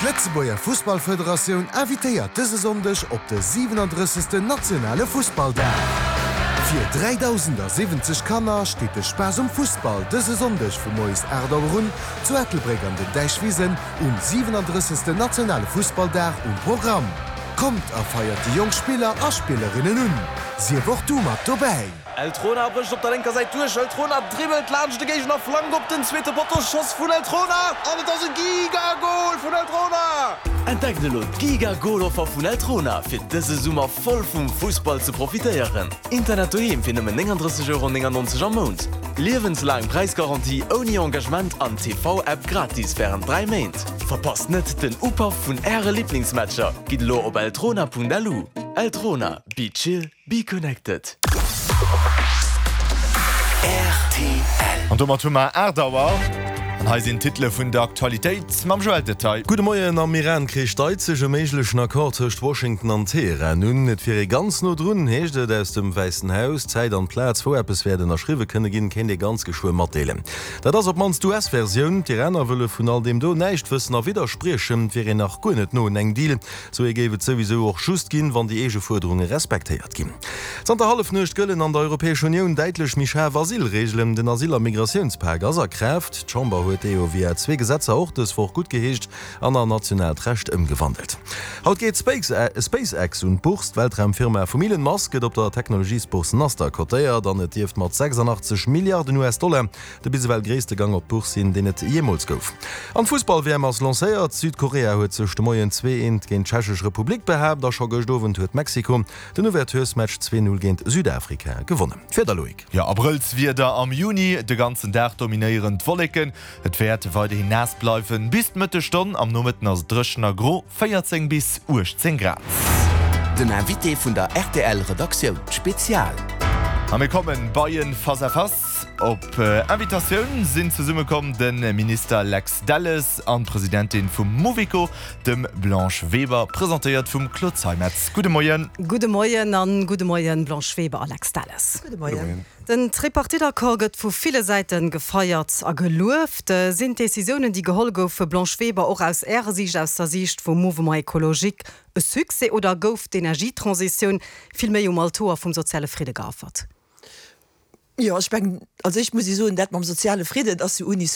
D'Lëtzebuerger Fussballfederatioun invitéiert dëse Sonndeg op de 37. nationale Fussballdag. Fir 3.070 Kanner steet de Spaass um Fussball dëse Sonndeg vu moies 8 Auer un zu Ettelbréck an den Däichwisen um 37. nationale Fussballdag um Programm. Kommt a feiert déi jonk Spiller a Spillerinnen un! Sief och du mat dobäi! Eltrona brécht op der lénker Säit duerch, Eltrona dribbelt laanscht de Géigner, Flank op den zweete Potto, Schoss vun Eltrona an et ass e Giga-Gol vun Eltrona! Entdeckt elo d'Giga-Gol-Offer vun Eltrona fir dëse Summer voll vum Fussball ze profitéieren. Internet doheem fir nëmmen 39,99 Euro am Mount, liewenslaang Präisgarantie ouni Engagement an TV-App gratis wärend 3 Méint. Verpasst net den Upaff vun Äre Liblingsmatcher! Gitt elo op eltrona.lu. Eltrona, be chill, be connected. Rtl. An domat hu mer 8 Auer. An hei sinn d'Titele vun der Aktualitéit mam Joël Detaille. Gudde Moien, Am Iran-Krich deit sech e méiglechen Accord tëscht Washington an Teheran un. Et wier ee ganz no drun, heescht et aus dem Wäissen Haus. D'Zäit an d'Plaz, wou eppes wäert ënnerschriwwe kënne ginn, kéint ee ganz geschwë matdeelen. Dat ass op d'mannst d'US-Versioun. D'Iraner wëlle vun all deem do näischt wëssen a widderspriechen, et wier een nach guer net no un engem Deal. Sou ee géif et souwisou och just ginn, wann déi eege Fuerderunge respektéiert ginn. Zanter Hallefnuecht gëllen an der Europäescher Unioun däitlech méi schaarf Asylreegelen. Den Asyl a Migratiounspak ass a Kraaft. D'Chamber huet dee jo via zwee Gesetzer och dës Woch guttgeheescht an an nationaalt Recht ëmgewandelt. Haut geet SpaceX un d'Bourse. D'Weltraumfirma vum Elon Musk gëtt op der Technologiesbourse Nasdaq kotéiert an et dierft mat 86 Milliarden US-Dollar De bis ewell gréisste Gang op d'Bourse sinn, deen et jeemools gouf. An d'Fussball-WM ass lancéiert. Südkorea huet sech de Moien 2, 1 géint d'Tschechesch Republik behaapt a scho gëscht Owend huet Mexiko den Ouverturesmatch 2, 0 géint Südafrika gewonnen. D'Wieder, Loïc. Jo, Abrëllswieder am Juni, de ganzen Dag dominéieren d'Wolleken. Et wäert weiderhin naass bleiwen bis d'Mëttesstonn. Am Nomëtten ass et dréchen a gro, 14 bis 18 Grad. Den Invité vun der rtl Redaktioun, Spezial. A mir kommen bei en Face à Face. Op Invitatioun sinn zesumme komm de Minister Lex Delles an d'Presidentin vum Mouveco, dem Blanche Weber, presentéiert vum Claude Zeimetz. Gudde Moien. Gudde Moien an gudde Moien Blanche Weber a Lex Delles. Gudde Moien. Den Tripartite-Accord gëtt vu ville Säite gefeiert a gelueft. Sinn d'Décisiounen, déi geholl goufe, Blanche Weber, och aus Ärer Siicht, aus der Siicht vum Mouvement écologique, e Succès oder gouf d'Energietransitioun vill méi um Altoer vum soziale Fridde geaffert? Jo, ech mengen, als éischt muss ech soen, dat mam soziale Fridden ass jo uni.